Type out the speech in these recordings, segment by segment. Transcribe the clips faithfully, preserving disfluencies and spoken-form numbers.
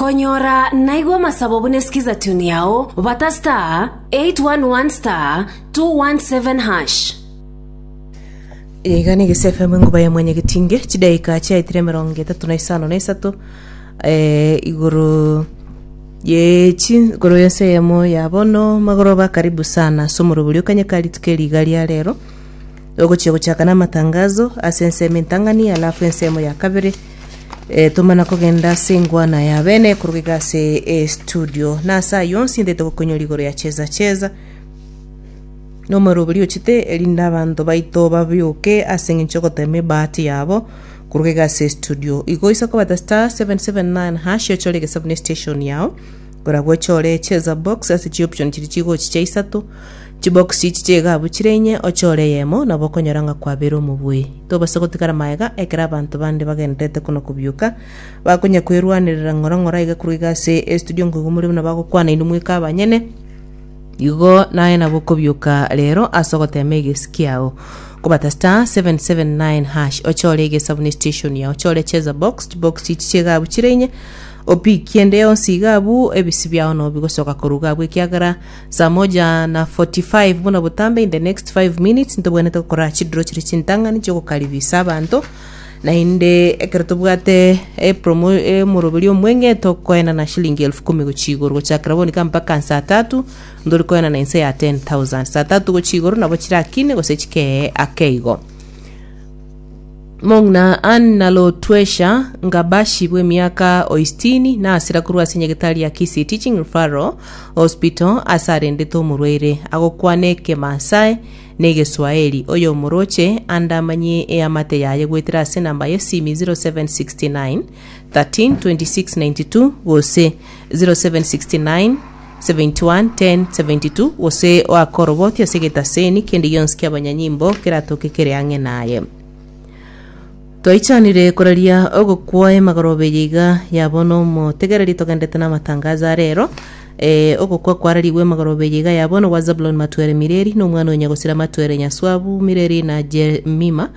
Konyora naigwa amasabo buna esikiza tune yao bata star eight one one star two one seven hash. Iga ni Gese F M, enguba ya mwenyegetinge. Chidaika chiaitire emerongo etato na isano na isato eh, igoro ye chi igoro yense eyemo ya bono magoroba. Karibu sana ase omorobori okanyeka rituko eriga ria rero. Ogochia gochaka na amatangazo ase ensemo entang'ani, alafu ensemo ya kabere eh, tomana kogenda ase engwana ya bene korugega ase e studio na ase aywo onsi ndete gokonyora igoro ya Cheza Cheza nomorobori ochete erinde abanto baito babioke ase eng'encho ogotema ebahati yabo korugega ase studio. Igo isa kobata star seven seven nine hash, ochore egesabu ne station yao, korabwo ochore Cheza Box ase chioption chiri chigochi chia isato. Chibox chichi chigabu chire inye, ochore eyemo, nabo okonyora ng'a kwabere omobui. Tobasa gotigara maega ekero abanto bande bagenderete kono kobioka bakonya kwerwanerera ng'ora ng'ora iga korwa ase estudio nkoigo muri buna bagokwana inwe mweka abanyene. Igo naye nabo okobioka rero ase ogotema egesi kiao kobata star seven seven nine hash, ochore egesabu ne station yao, ochore Cheza Box. Box chichi chigabu chire inye, opikie ende yonsi igabu ebisi biao no bigosoka koruga abwo, ekiagera saa moja na forty-five buna botambe, in the next five minutes ntobwenerete gokora chidraw chiri chintang'ani chiogokaribisa abanto. Naende ekero tobwate epromo emoroberi omwenge tokoenana shilingi elfu kumi gochia igoro, gochakera bonika mpaka saa tatu ndori koenana inse ya ten thousand. Saa tatu gochia igoro nabo chirakine gose chikee ake igo. Mong'na Anna Lotwesha Ngabashi bw'emiaka oistini nasira korwa ase nyagetari ya Kisii Teaching Referral Hospital ase arendete omorwaire agokwana ekemasai na egeswahili. Oyo omoroche ande amanye eamate yaye gwetera ase enamba ya esimi zero seven six nine thirteen twenty-six ninety-two gose zero seven six nine seventy-one ten seventy-two, gose oakoroboti ase egetaseni kende gionsi kia abanyanyimbo keratoke kere ang'e naye. Twaichanire koraria ogokwa emagorobe iga yabo omotegereri togendete na amatangazo arero. eh, ogokwa kwararigwe emagorobe iga yabo gwa Zabulon Matwere Mireri na omwana onya gosira Matwere Nyaswabu Mireri na Jemima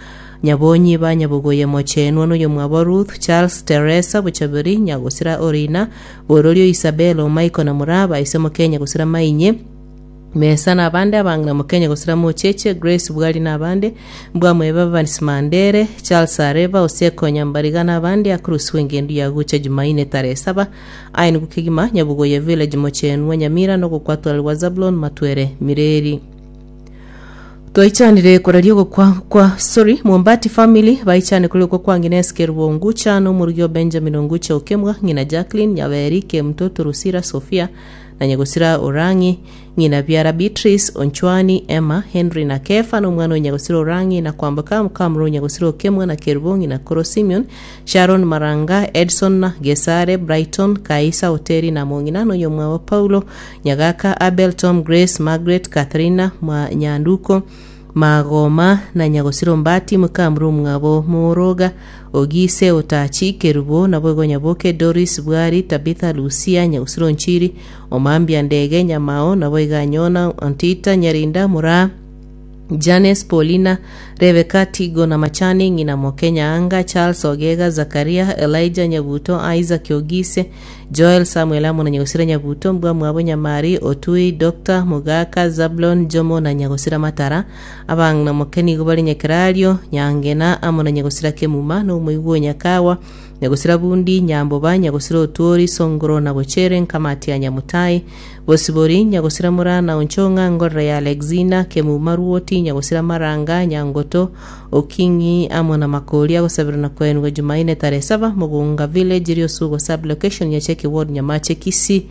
Nyabonyi banyabogoye mochenwa noyo mwabo Ruth Charles Teresa Buchaberi nyagosira Orina Bororio Isabel Michael na Muraba isemo Kenya gosira Mainye Mesa na abande abang'ina mukenya gosira Mocheche Grace Bwari na abande mbwamweba Evans Mandere Charles Areba Oseko Nyambariga na abande akurusiwe engendu ya gucha Jumaine tarehe saba aini gukigima Nyabugoye Village, Mochenwa, Nyamira nogokwatwarwa Zablon Matwere Mireri. Twaichanire koraria ogokwa kwa, sorry, Mwombati family baichane kuri okwa kwa ng'ina Kerubo Ongucha na omorugio Benjamin Ongucha Okemwa, ng'ina Jacqueline Nyaberi Kemtoto Rusira Sofia na nyagosira Orangi, ng'ina biara Beatrice Onchwani Emma Henry na Kefa na omwana onyagosira Orangi na kwamboka mukamuro nyagosira Okemwa na Kerubo, ng'ina Koro Simeon Sharon Maranga Edson Gesare Brighton Kaisa Oteri na mong'ina noyo mwawa Paulo Nyagaka Abel Tom Grace Margaret Catherina mwa Nyanduko Magoma na nyagosiro Mbati mukamuro mwabo Moroga Ogise Otachi Kerubo nabo Nyaboke Doris Bwari Tabitha Lucia nyagosiro Nchiri Omambia Ndege Nyamao nabo Iganyona Antita Nyarinda Mura Janes Paulina Rebecca Tigo na Machani, ng'ina Mokenya Anga Charles Ogega Zakaria Elijah Nyabuto Isaac Ogise Joel Samuel amo na nyagosira Nyabuto mbwa mwabo Nyamari Otui Dr Mugaka Zablon Jomo na nyagosira Matara. Abang'ina mokeni bari Nyakerario Nyangena amo na nyagosira Kemuma na omoigwa Nyakawa nyagosira Bundi Nyamboba nyagosira Otuori Songoro na Bochere nkamati ya Nyamutai Bosibori nyagosira Murana Onchonga Ngorora ya Alexina Kemuma Ruoti nyagosira Maranga Nyangoto Okingi amo na Makori agosabira na kwenwa Jumaine tarehe saba, Mugunga Village, Riosugo sub location, Nyacheki ward, Nyamache, Kisii.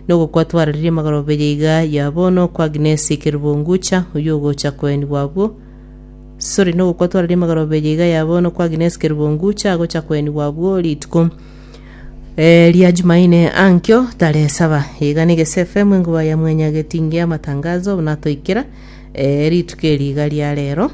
Nogokwatwararirie magorobe iga yabono kwa Agnes Kerubongucha uyu ogocha kwenwa abwo, sorry, nogokwatwararirie magorobe iga yabono kwa Agnes Kerubongucha agocha kwenwa abwo rituko eh, ria Jumaine ankyo tarehe saba. Iga ni Gese F M, enguba ya mwenyagetingia amatangazo natoikera eh, rituko eriga ria rero.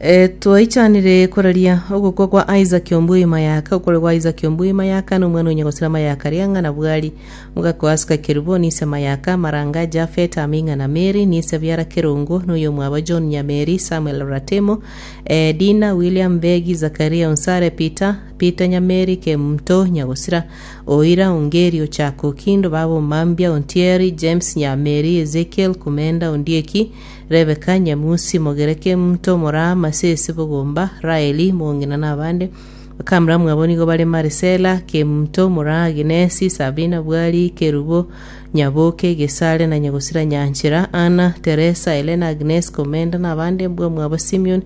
E, twaichanire koraria ogokwa kwa Isaac Ombui Mayaka okore kwa Isaac Ombui Mayaka n'omwana onyagosira Mayaka riang'a na bwari mugakwasika kerubo nise Mayaka Maranga Jafet Aminga na Mary nise biara Kerungu n'oyo mwaba John Nyameri Samuel Ratemo e, Dina William Begi Zakaria Onsare Peter Peter Nyameri Kemto Nyagosira Oira Ongeri Ochako Kindo Babo Mambia Ontieri James Nyameri Ezekiel Kumenda Ondieki Rebeka Nyamusi Mogereke Mto Mora Masese Bogomba Raeli Mongina n'abande bakamura mwabo nigo bari Marcela Kemto Mora Agnesi Sabina Bwari Kerubo Nyaboke Gesare na Nyagosira Nyanchira Anna Teresa Elena Agnes Komenda n'abande mbwa mwabo Simeon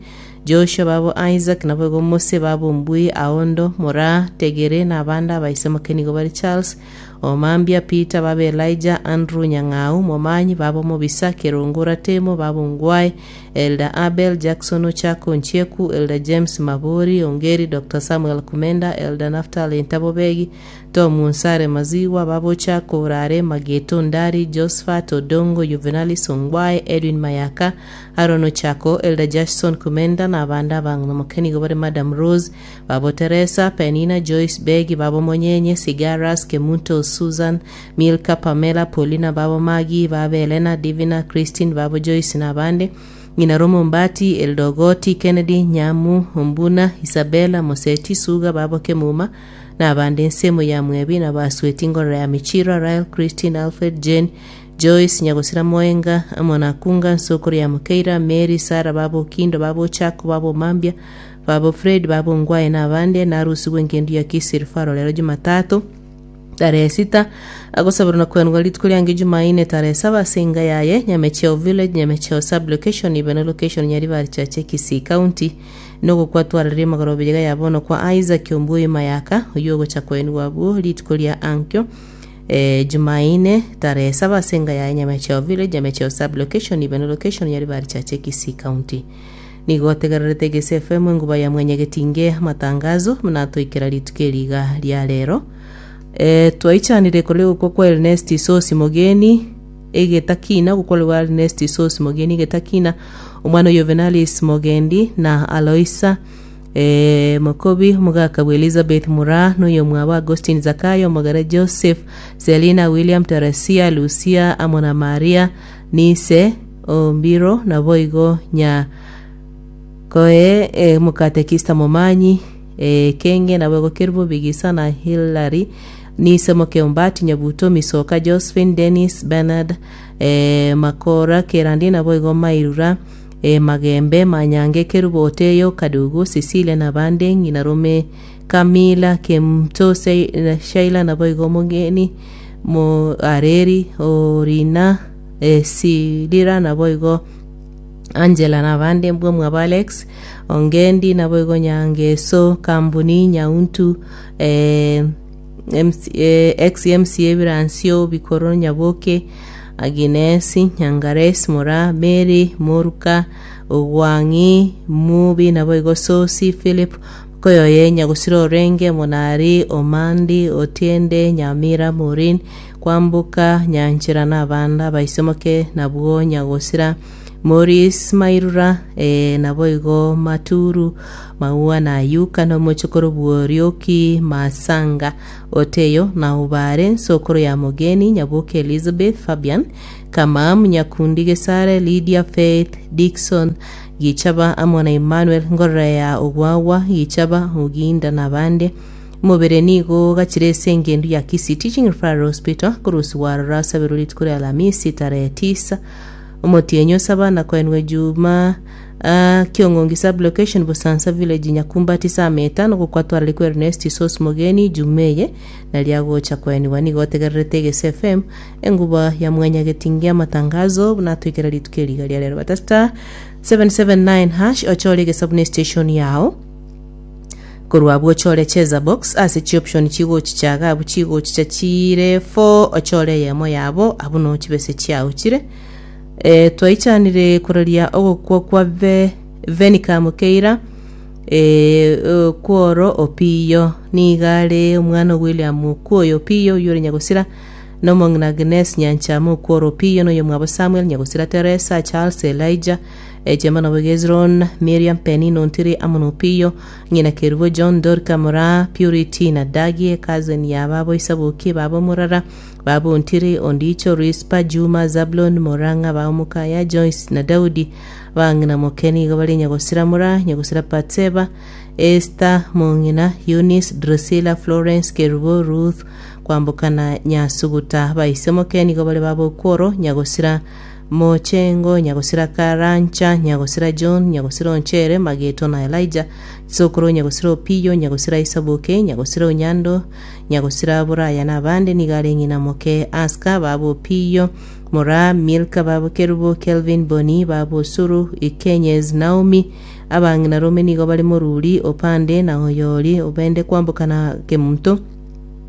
Joshua babo Isaac nabo Mose babo Mbui Aondo Mora Tegere n'abandi abaisemo nigo bari Charles Omambia Peter babo Elijah Andrew Nyang'au Momanyi babo Mobisa Kerongora Temo babo Ngwai Elder Abel Jackson Ochako Nchieku Elder James Mabori Ongeri Dr Samuel Kumenda Elder Naftali Ntabobegi Tom Unsare Maziwa babo Ochako Urare Mageto Ndari Josephat Odongo Juvenalis Ongwae Edwin Mayaka Aaron Ochako Elder Jackson Kumenda n'abandi abang'ina nigo bari Madam Rose babo Teresa Penina Joyce Begi babo Monyenye Sigaras Kemunto Susan Milka Pamela Paulina babo Magi babo Elena Divina Christine babo Joyce n'abandi ng'ina Romo Mbati Eldogoti Kennedy Nyamu Ombuna Isabella Moseti Suga babo Kemuma n'abandi ensemo ya Mwebi na basweti ngorora ya Michira Rael Christine Alfred Jane Joyce Nyagosira Moenga Monakunga Nsokoro ya Mukeira Mary Sara babo Kindo babo Chako babo Mambia babo Fred babo Ngwae n'abandi narusigwe engendu ya Kisirifaro lero Jumatatu tarehe sita agosabirwa na kwendwa rituko ryange Jumaine tarehe saba singa yaye Nyamecheo village Nyamecheo sub location ibene location Nyaribari Chache Kisii County nogokwatwarire magoro biga yabono kwa Isaac Ombui Mayaka oyo gocha kwendwa bwo rituko rya ankyo e, Jumaine tarehe saba singa yaye Nyamecheo village Nyamecheo sub location ibene location Nyaribari Chache Kisii County nigo tegererete Gese F M enguba ya mwenyegetinge amatangazo mnatoikera rituko eriga rya rero e, twaichanire kore gukwa kwa Ernest Sosi Mogeni egetakina gukorwa Ernest Sosi Mogeni egetakina omwana Juvenalis Mogendi na Aloisa e, Mokobi omogaka bwa Elizabeth Mura noyo mwaba Agustin Zakayo omogere Joseph Selina William Teresia Lucia amona Maria Nise Ombiro naboigo nya koe e, mukatekista Momanyi e, Kenge naboigo Kerubo Bigisa na Hillary Nise Mokeombati Nyabuto Misoka Josephine Dennis Bernard e, Makora Kerandi naboigo Mairura e, Magembe Manyange Kerubo Oteyo Kadugu Cecilia nabande ng'ina Rome Kamila Kemto Shaila naboigo Mogeni Mo Areri Orina e, Silira naboigo Angela nabande mbwa mwaba Alex Ongendi naboigo Nyangeso Kambuni Nyauntu eh, M C, eh, ex M C A Biransio Bikoro Nyaboke Aginesi Nyangares Mora Mary Moruka Ogwangi Mubi naboigo Sosi Philip Koyoye Nyagosiro Orenge Monari Omandi Otiende Nyamira Morin Kwambuka Nyanchira nabanda baisomoke nabwo Nyagosira Maurice Mairura e, naboigo Maturu Maua na Yuka no mochokoro Bworioki Masanga Oteyo na Ubare Nsokoro ya Mogeni Nyaboke Elizabeth Fabian Kamam Nyakundi Gesare Lydia Faith Dixon Gichaba amona Emmanuel Ngorora ya Ogwawa Gichaba Oginda nabande mubere nigo gachire engendu ya Kisii Teaching Referral Hospital kurusi warora sabiro rituko rya Alhamisi tarehe tisa omotienyo saba na kwenwe Juma uh, Kiongongi sub location Busansa village Nyakumba tisa metano gukwatwara likwe Ernest Sos Mogeni Jumeye na lyagocha kweniwa nigo tegererete Gese F M enguba ya mwenyegetingia matangazo natwikera rituko eriga rya rero bata star seven seven nine hash ochore gesabune station yao korwa bwo chore cheza box ase chi option chigo chichaga abu chigo chicha chire four ochore yemo yabo abuno chibese chiao chire e, twaichanire kuraria ogokwa kwa ve, Venica Mukeira e, kworo Opiyo nigare omwana William Kuoyo Opiyo yore Nyagosira nomong'ina Agnes Nyanchamo kworo Opiyo noyo mwabo Samuel Nyagosira Teresa Charles Elijah Ejema nabo Gezron Miriam Penina Ontiri amo na Opiyo ng'ina Kerubo John Dorika Moraa Purity na Dagie cousin ya babo Isaboki babo Murara babo Ontiri Ondicho Rispa Juma Zablon Morang'a babo Mukaya Joyce na Daudi bang'ina Mokeni igo bari Nyagosira Mura Nyagosira Patseba Esther Mong'ina Eunice Drusilla Florence Kerubo Ruth kwambukana Nyasuguta baise Mokeni igo bari babo Okworo Nyagosira Mochengo Nyagosira Karancha Nyagosira John Nyagosira Onchere Mageto na Elijah Sokoro Nyagosira Opiyo Nyagosira Isaboke Nyagosira Onyando Nyagosira Buraya na abande nigo are ng'ina moke Aska babo Opiyo Mora Milka babo Kerubo Kelvin Boni babo Osuru Ikenyez Naomi abang'ina rome nigo bari Moruri Opande na Oyori obende kwambukana Kemunto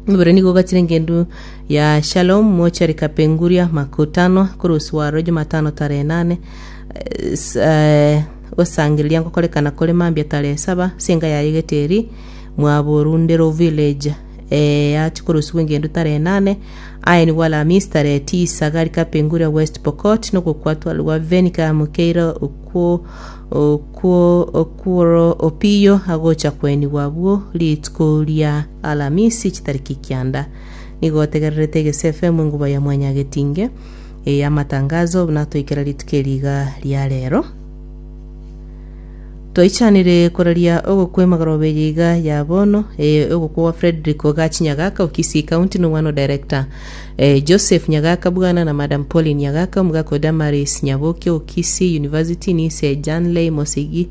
Mubere nigo gachire ngendu ya Shalom Mochari Kapenguria makutano kurusiwaro Jumatano tarehe nane Eh, s- eh, gosangereria ngokorekana kore mambia tarehe saba singa yaye geteri mwaborundero village eh, yachikurusiwa engendu tarehe nane aya nigwo Alhamisi tarehe tisa gari Kapenguria West Pokot nogokwatwarwa Venica Mukeira okwo okwo okworo Opiyo agocha kwenigwa abwo rituko ria Alhamisi chitariki kianda nigo tegererete Gese F M enguba ya mwanyagetinge e amatangazo natoikera rituko eriga ria rero twaichanire koraria ogokwa emagoroba eye iga ya bono eh, ogokwa wa Frederick Ogachi Nyagaka o Kisii County nomwana o director eh, Joseph Nyagaka bwana na Madam Pauline Nyagaka omogaka Damaris Nyaboke o Kisii University nise Janley Mosigi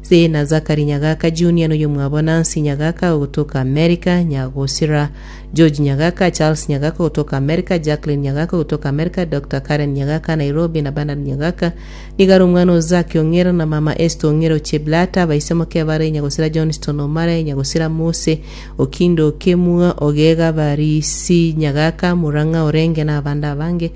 se na Zakari Nyagaka Junior noyo mwabo Nancy Nyagaka kutoka America Nyagosira George Nyagaka Charles Nyagaka kutoka America Jacqueline Nyagaka kutoka America Doctor Karen Nyagaka Nairobi na Bernard Nyagaka nigaro omwana Ozaki Ong'ero na mama Esther Ong'ero Cheblata baise moke bare Nyagosira Johnston Omare Nyagosira Mose Okindo Okemua Ogega Barisi Nyagaka Murang'a Orenge na abande abange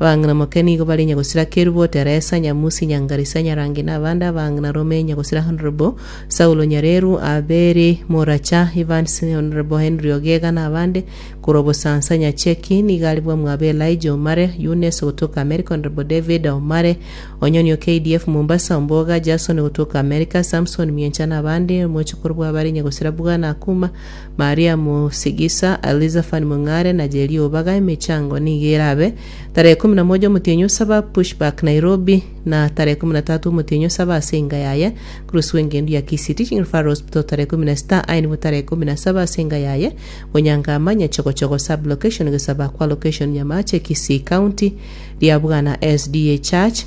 abang'ina moke nigo bari Nyagosira Kerubo Teresa Nyamusi Nyangarisa Nyarangi na abande abang'ina rome Nyagosira Honorable Saulo Nyareru Abere Moracha Evans Honorable Henry Ogega na abande kurobo Sansa Nyacheki nigo bwa mwabe Elijah Omare Eunice kutoka America Honorable David Omare Onyonio K D F Mombasa Omboga Jason kutoka America Samson Miencha na abande mochukuru bwa bari Nyagosira Bwana Akuma Maria Musigisa Elizafan Mung'are na Jeri Obaga emechango nigo erabe tarehe kumi na moja omotienyi saba Pushback Nairobi na tarehe kumi na tatu omotienyi saba ase enga yaye kurusiwa engendu ya Kisii Teaching Referral Hospital tarehe kumi na sita aye nibo tarehe kumi na saba ase enga yaye Bonyangama Nyachogochogo sub location gesaba kwa location Nyamache Kisii County ria Bwana S D A Church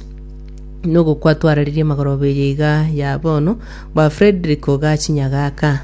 nogokwatwararirie magoroba eye iga ya bono bwa Frederick Ogachi Nyagaka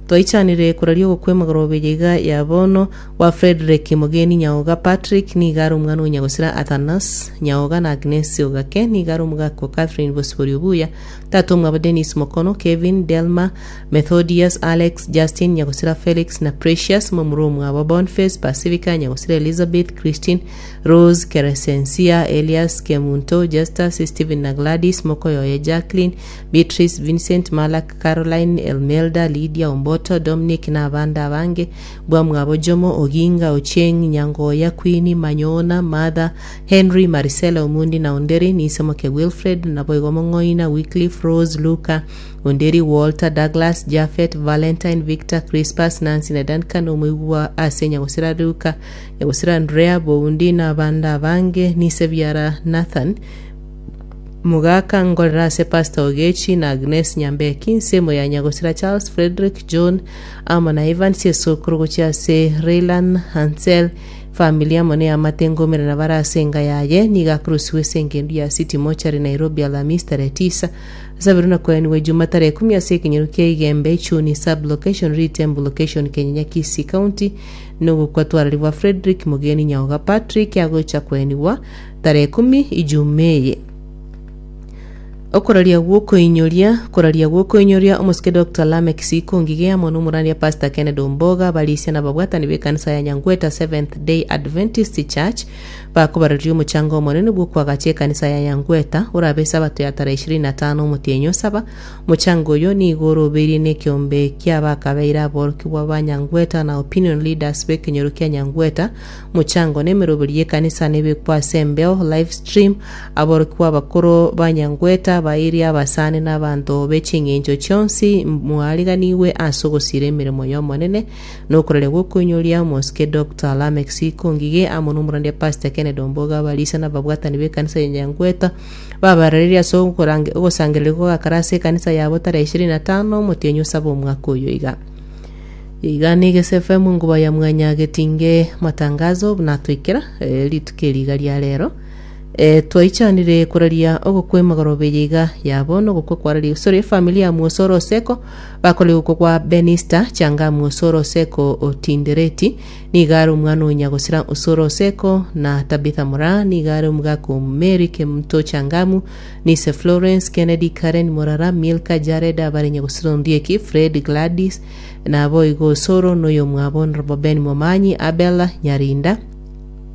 twaichanire kuraria ogokwa emagoroba eye iga ya bono wa Frederick Mugeni Nyaoga Patrick nigo are omwana o Nyagosira Athanas Nyaoga na Agnes Ogake nigo are omogaka Catherine Bosibori Obuya tata omwabo Dennis Mokono Kevin Delma Methodius Alex Justin Nyagosira Felix na Precious momuro omwabo Boniface Pacifica Nyagosira Elizabeth Christine Rose Keresensia Elias Kemunto Justus Stephen na Gladys Mokoyoye Jacqueline Beatrice Vincent Malak Caroline Elmelda Lydia Omboto Dominic na abande abange bwa mwabo Jomo Oginga Ochieng Nyangoya Queen Manyona Martha Henry Maricela Omundi na Onderi nisemoke Wilfred naboigo Mong'oina Wycliffe Rose Luka Onderi Walter Douglas Jafet Valentine Victor Crispas Nancy na Duncan omoigwa ase Nyagosira Luka Nyagosira Andrea Boundi na abande abange nisebiara Nathan Mugaka ngorera ase Pastor Ogechi na Agnes Nyambeki nsemo ya Nyagosira Charles Frederick John amo na Evans esokoro gochia ase Raylan Hansel familia amo ne amate ngomera na bara ase enga yaye niga akurusiwa ase engendu ya City Mochari Nairobi Alhamisi tarehe tisa asabiru na kweniwe Juma tarehe kumi ase ekenyoro kia Igembe Ichuni sub location Ritembo location Kenyenya Kisii County nogokwatwararibwa Frederick Mugeni Nyaoga Patrick agocha kweniwa tarehe kumi Ijumeye. Okoraria gwokoinyoria koraria gwokoinyoria omosike Doctor Lameck Sikongige amo nomorania Pastor Kennedy Omboga barisia na babwatani b'ekanisa ya Nyangweta Seventh Day Adventist Church bakobararia omochango omonene bwokwagacha ekanisa ya Nyangweta orabe esabato ya tarehe ishirini na tano omotienyi osaba. Omochango oyo nigo orobeirie na ekiombe kia bakabeire aborokigwa ba Nyangweta na opinion leaders b'ekenyoro kia Nyangweta. Omochango na emeroberi y'ekanisa nebekwa ase embeo live stream. Aborokigwa abakoro ba Nyangweta bairi abasani na abanto b'eching'encho chionsi mwariganiwe ase ogosira emeremo y'omonene nokoraria gwokoinyoria omosike Doctor Lameck Sikongige amo nomorandia Pastor Kennedy Omboga abarisia na ababwatani b'ekanisa ya Nyangweta babarareria ase okorange- ogosangereria gogakara ase ekanisa yabo tarehe ishirini na tano omotienyi osaba omwaka oyo iga. Iga na Egese F M nguba ya mwanya getinge matangazo buna twikera eh, rituko eri iga ria rero eh, twaichanire koraria ogokwa emagoroba eye iga yabo nogokwa kwararia sorry efamily ya Mwosoro Oseko bakora gokwa kwa Benista Changa Mwosoro Oseko otindereti. Niga ari omwana o Nyagosira Osoro Oseko na Tabitha Mura. Niga ari omogaka Mary Kemuto Changamu Nise Florence Kennedy Karen Morara Milka Jared abare Nyagosira Ondieki Fred Gladys nabo igo Osoro noyo mwabo Honorable Ben Momanyi Abela Nyarinda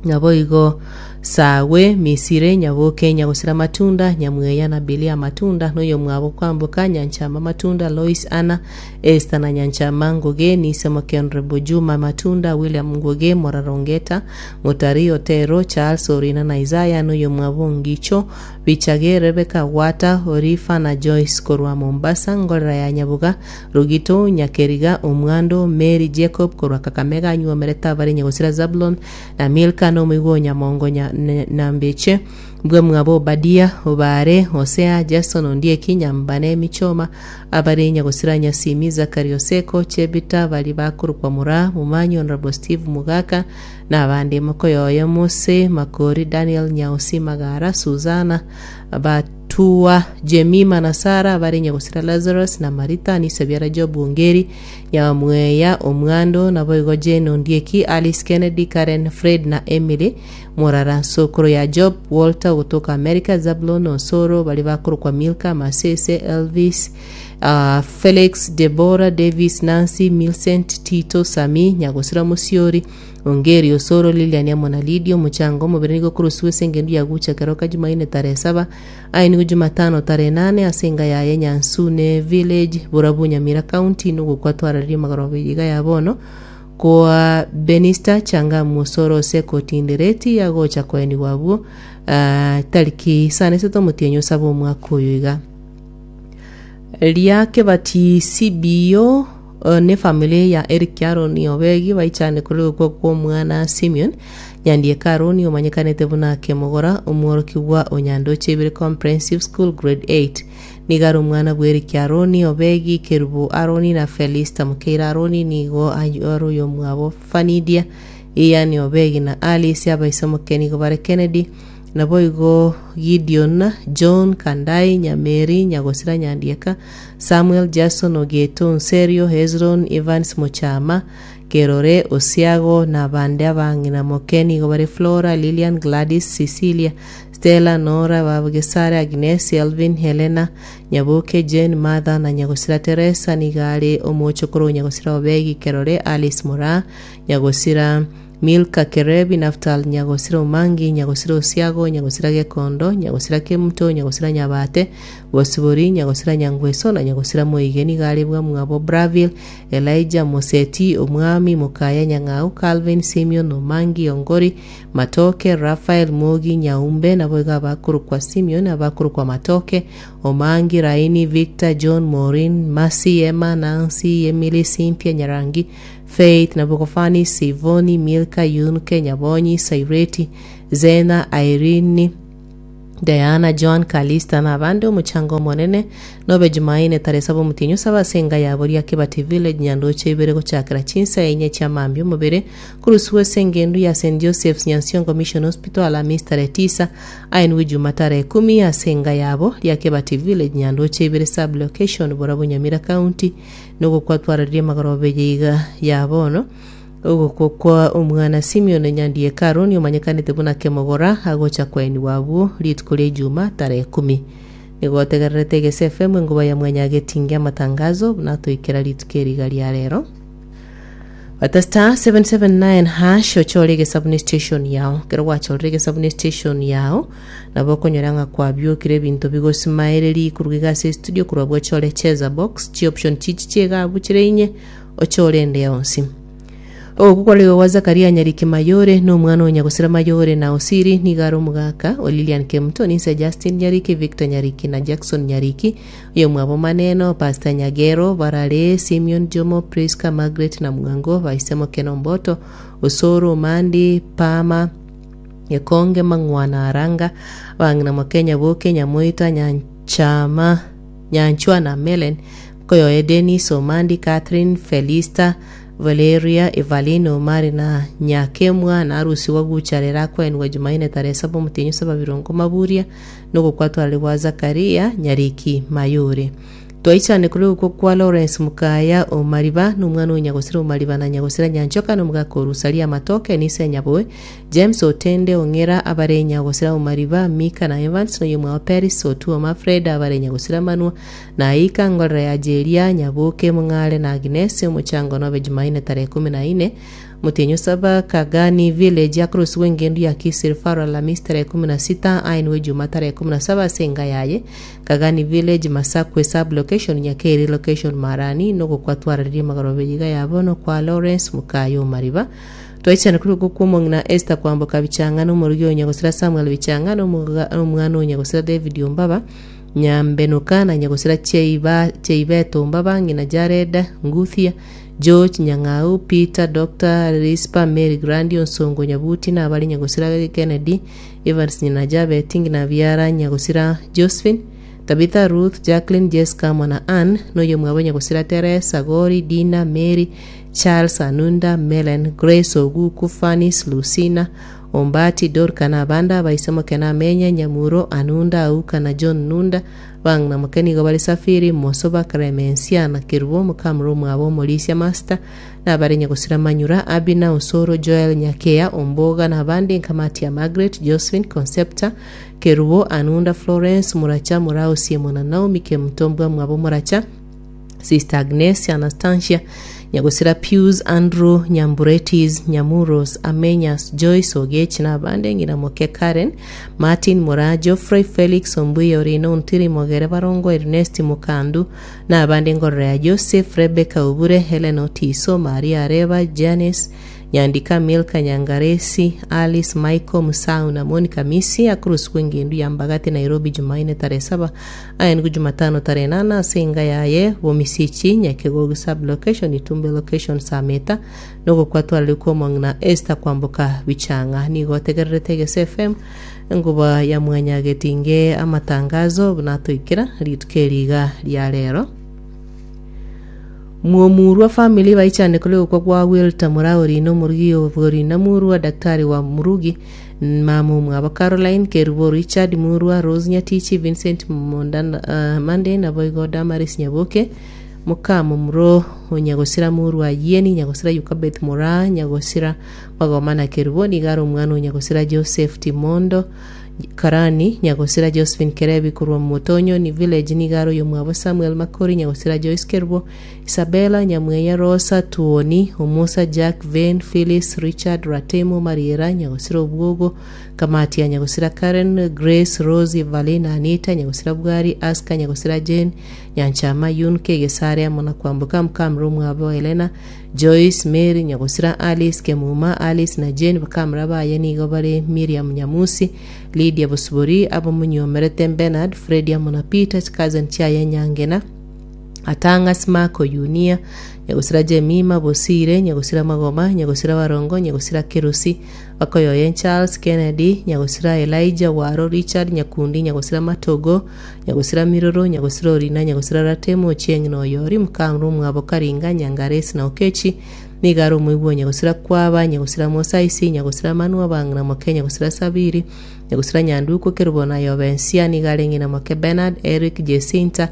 nabo igo Sawe Misire Nyaboke Nyagosira Matunda Nyamweya na Bilia Matunda noyo mwabo Kwamboka Nyanchama Matunda Lois Anna Esther na Nyanchama Nguge Nisemoke Honorable Juma Matunda William Nguge Morarongeta Mutari Otero Charles Orina na Isaya noyo mwabo Ngicho Bichage Rebecca Wata Orifa na Joyce korwa Mombasa Ngorera ya Nyabuga Rugito Nyakeriga Omwando Mary Jacob korwa Kakamega nyuomerete abare Nyagosira Zablon na Milka nomoigwa Nyamongo nya, na Mbeche mbwe mwabo Obadia Obare Hosea Jason Ondieki Nyambane Michoma abare Nyagosira Nyasimi Zakari Oseko Chebita bari bakorokwa Mura Mumanyi Honorable Steve Mugaka na abande Mokoyoyo Mose Makori Daniel Nyausi Magara Suzana Batua Jemima na Sara abare Nyagosira Lazarus na Marita Nisebiara Job Ongeri Nyamweya Omwando nabo igo Jane Ondieki Alice Kennedy Karen Fred na Emily Murara Sokoro ya Job Walter kutoka America Zablon Osoro bali bakorokwa Milka Masese Elvis uh, Felix Deborah Davis Nancy Milcent Tito Sami Nyagosira Musiori Ongeri Osoro Lilian amo na Lidio. Muchango omobere nigo kurusiwa ase engendu ya gucha keroka Jumaine tarehe saba aye Jumatano tarehe nane ase enga yaye Nyansune Village Burabu Nyamira County nogokwa twararia magoroba iga ya bono kwa Benista Changa Musoro Seko Tindereti agocha koeniwa abwo uh, tariki isano isato omotienyi osaba omwaka oyo iga riake bati C B O uh, ne family ya Eric Aroni Obegi baichane kuri gokwa kwa omwana Simeon Nyandieka Aroni omanyekanete buna Kemogora omworokigwa Onyandoche Ibere Comprehensive School grade eight. Nigo ari omwana bwa Eric Aroni Obegi Kerubo Aroni na Felista Mukeira Aroni. Nigo ari oyo mwabo Fanidia Ian Obegi na Alice. Abaisomoke nigo bare Kennedy nabo igo Gideon John Kandai Nyameri Nyagosira Nyandieka Samuel Jason Ogeto Nserio Hezron Evans Mochama Kerore Osiago na bande abang'ina moke nigo bare Flora Lilian Gladys Cecilia Stella Nora Babugesare Agnes Elvin Helena Nyaboke Jane Martha na Nyagosira Teresa. Nigo are omochokoro Nyagosira Obegi Kerore Alice Mora Nyagosira Milka Kerebi Naftal Nyagosira Omangi Nyagosira Osiago Nyagosira Gekondo Nyagosira Kemuto Nyagosira Nyabate Bosibori Nyagosira Nyangweso na Nyagosira Moige. Nigo are bwa mwabo Braville Elijah Moseti Omwami Mukaya Nyang'au Calvin Simeon Omangi Ongori Matoke Rafael Mogi Nyaumbe nabo iga abakorokwa Simeon abakorokwa Matoke Omangi Raini Victor John Maureen Masi Emma Nancy Emily Cynthia Nyarangi Faith Nabokofani Sivoni Milka Yunke Nyabonyi Saireti Zena Irene Diana John Kalista na abande. Omuchango omonene nobe Jumaine tarehe saba omotienyi osaba ase enga yabo ria Kibati Village Nyandoche ibere gochakera chinsa enye chiamambia. Omobere kurusiwa ase engendu ya Saint Joseph's Nyansiongo Mission Hospital Alhamisi tarehe tisa aenwe Juma tarehe kumi ase enga yabo ria Kibati Village Nyandoche ibere sub location Borabu Nyamira County nogokwatwararia magoroba iga ya bono ogokwo kwa omwana Simeon Nyandieka Aroni omanyekanete buna Kemogora agocha kwaeniwa abwo rituko ria Ijuma tarehe kumi. Nigotegererete Egese F M, enguba ya mwanyagetinge amatangazo natoikera rituko eriga ria rero. Bata star seven seven nine hash ochore egesabuni station yao. Kero gwachorire egesabuni station yao, nabo okonyora ng'a kwabiokire ebinto bigosimaereri koruga ase studio korwa bwochore cheza box chioption chichi chiegabu chire inye, ochore ende yonsi. Ogoku kwarigo gwa Zakaria Nyariki Mayore na omwana onya gosira Mayore na Osiri nigo are omogaka o Lilian Kemuto ninse Justin Nyariki, Victor Nyariki na Jackson Nyariki, oyo mwabo maneno Pastor Nyagero Barare, Simeon Jomo, Priska, Margaret na Mwango baisemo Keno Mboto Osoro Mandi Pama Gekonge Mang'wana Aranga bang'ina Mokenya Boke Nyamoita Nyanchama Nyanchwa na Melen Koyoe Denis Omandi, Catherine, Felista, Valeria, Evelyn Omari na Nyakemwa na arusi wa gucharera kwenwa Jumaine tarehe saba mutinyu saba birongo maburia nugukwatwara gwa Zakaria Nyariki Mayure. Twaichane kuri uko kwa Lawrence Mukaya Omariba n'umwana w'Inyagosira Omariba na Nyagosira Nyanchoka n'omugaka Orusalia Matoke nise Nyaboe James Otende Ong'era abare Nyagosira Omariba Mika na Evans n'oyomwa wa Paris Otuo Mafred abare Nyagosira Manua na Aika Ngorera ya Jeria Nyaboke Mung'are na Agnes. Omochango nobe Jumaine tarehe kumi na ine mutinyu saba Kagani Village across wengendu ya Kisir Faro Alhamisi tarehe kumi na sita ainwe Juma tarehe kumi na saba senga yaye Kagani Village, Masakwe sub location, Nyakeri location, Marani nogokwatwararirie magaro beyiga yabo no kwa Lawrence Mukayo Mariba. Twaichana kuri uko kwomong'ina Esther Kwamboka Bichanga n'omurugi onyagosira Samuel Bichanga n'omwana onyagosira David Ombaba Nyambenuka na nyagosira Cheiba Cheibeto Ombaba ng'ina Jared Nguthia, George Nyang'au, Peter, Doctor Rispa, Mary Grandi Onsongo Nyabuti na abari nyagosira Kennedy Evans nyina Jabet ng'ina Biara nyagosira Josephine, Tabitha, Ruth, Jacqueline, Jessica mwana Ann noyo mwabo nyagosira Teresa Gori, Dina, Mary, Charles Anunda, Melen, Grace Oguku, Fanis, Lucina Ombati, Dorka na abanda baisemo kena Amenya Nyamuro Anunda Auka na John Nunda bang'ina mokenigo bari Safiri Mosoba Clemencia na Kirubo mukamuro mwabo Molisia Master na abari nyagosira Manyura Abina Osoro Joel Nyakea Omboga na abandi nkamati ya Margaret, Josephine, Concepta Kerubo Anunda, Florence Muracha Murao Simona Naomi Kemutombwa mwabo Muracha, Sister Agnes Anastasia Nyagosira Pius Andrew Nyamburetis Nyamuros Amenyas Joyce Ogech na abande ng'ina moke Karen Martin Mora Geoffrey Felix Ombuya Orino Ontiri Mogere Barongo Ernest Mukandu na abande ngorora ya Joseph Rebecca Obure Helen Otiso Maria Areba Janice Nyandika Milka Nyangaresi Alice Michael Musau na Monica Misi akurusi kwengendu ya Mbagati Nairobi Jumaine tarehe saba ayengu Jumatano tarehe nana singa yaye Bomisichi Nyakegogo sub location, Itumbe location, Sameta nogokwatwara na Esther Kwamboka Bichanga. Nigo tegererete Egese F M, enguba ya mwanyagetinge amatangazo natoikera rituko eriga ria rero. Muomurwa family baichane kule ukwa kwa Wilta Murauri no murugi Oborina Murwa daktari wa Murugi mamu mwaba Caroline Kerubo Richard Murwa Rose Nyatichi Vincent Mondana uh, Mande na Boigo Damaris Nyaboke mukamo muro onyagosira Murwa Yeni nyagosira Yukabeth Mura nyagosira Magomana Kerubo nigaro omwana onyagosira Joseph Timondo Karani nyagosira Josephine Kerebi kurwa Mutonyo ni village nigaro yomwabo Samuel Makori nyagosira Joyce Kerubo Isabella Nyamweya Rosa Tuoni Omusa Jack Vane Phyllis Richard Ratemo Mariera nyagosira Obwogo Kamati ya nyagosira Karen Grace Rose Evalina Anita nyagosira Bwari Aska nyagosira Jane Nyanchama Yunke Gesare amona kwambuka mukamuro mwabo Helena Joyce Mary nyagosira Alice Kemuma Alice na Jane bakamura baye nigo bare Miriam Nyamusi Lydia Busuburi abo munyomerete Bernard Fred amona Peter cousin Chaya Nyangena Atanga Smako Yunia nyagosira Jemima Bosire nyagosira Magoma nyagosira Barongo nyagosira Kerusi bakoyoye Charles Kennedy nyagosira Elijah Waro Richard Nyakundi nyagosira Matogo nyagosira Miroro nyagosira Orina nyagosira Ratemo Ochieng Noyori mukamru mwabo Karinga Nyangaresi na Okechi nigaro omwigwa nyagosira Kwaba nyagosira Mosaisi nyagosira Manua bang'ina moke nyagosira Sabiri nyagosira Nyanduko Kerubo na Yobensia nigare ng'ina moke Bernard Eric Jacinta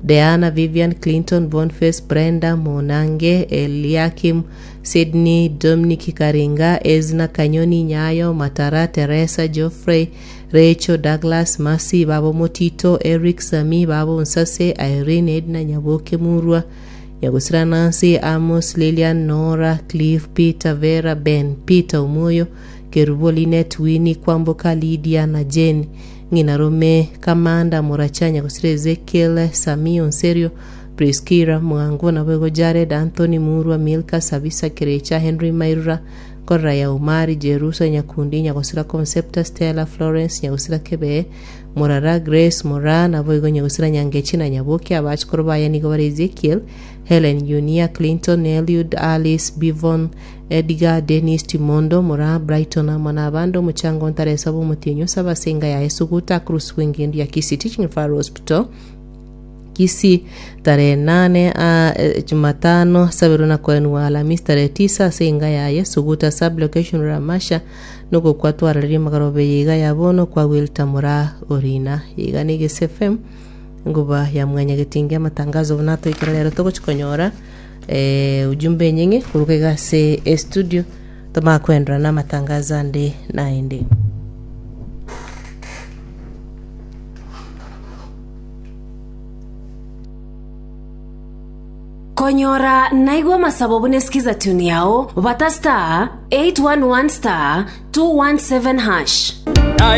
Diana Vivian Clinton Boniface Brenda Mona. Nyange, Eliakim, Sydney, Dominic Karinga, Ezna Kanyoni, Nyayo, Matara, Teresa, Geoffrey, Rachel, Douglas, Mercy, Babo Motito, Eric, Sami, Babo Nsase, Irene, Edna, Nyaboke Murwa, Nyagusira Nancy, Amos, Lilian, Nora, Cliff, Peter, Vera, Ben, Peter Omoyo, Kerubo, Linet, Winnie, Kwamboka, Lydia na Jane, Ng'ina Rome, Kamanda, Moracha, Nyagusira Ezekiel, Sami, Onserio, Priskira, Mwango, Nabwego Jared, Anthony Murwa, Milka, Sabisa, Kerecha, Henry Mairura, Korra ya Umari, Jerusa, Nyakundi, Nyagusira Concepta, Stella, Florence, Nyagusira Kebe, Morara, Grace, Mora, Naboigo, Nyagusira Nyangechi na Nyaboke, abachukuru baya nigo bare Ezekiel, Helen, Yunia, Clinton, Eliud, Alice, Bivon, Edgar, Dennis, Timondo, Mora, Brighton, amo na abande omochango ntaresa bw'omotienyi osaba ase enga yaye Suguta, Cruz Wingindi ya Kisii Teaching Referral Hospital, Kisii tarehe nane ah, eh, Jumatano sabiru na koenwa Alhamisi tarehe tisa ase enga yaye Suguta sublocation Ramasha nuko kwatwararirie magarobe yiga ya bono kwa Wilta Mura Orina yiga ni Gese F M nguba ya mwanya getingi amatangazo bunato ikera rero togochikonyora eh, ujumbe nyingi kuruka igase e studio tomakwendera na amatangazo ande naende. Konyora naigwa masabo bunesikiza tune yao bata star eight one one star two one seven hash.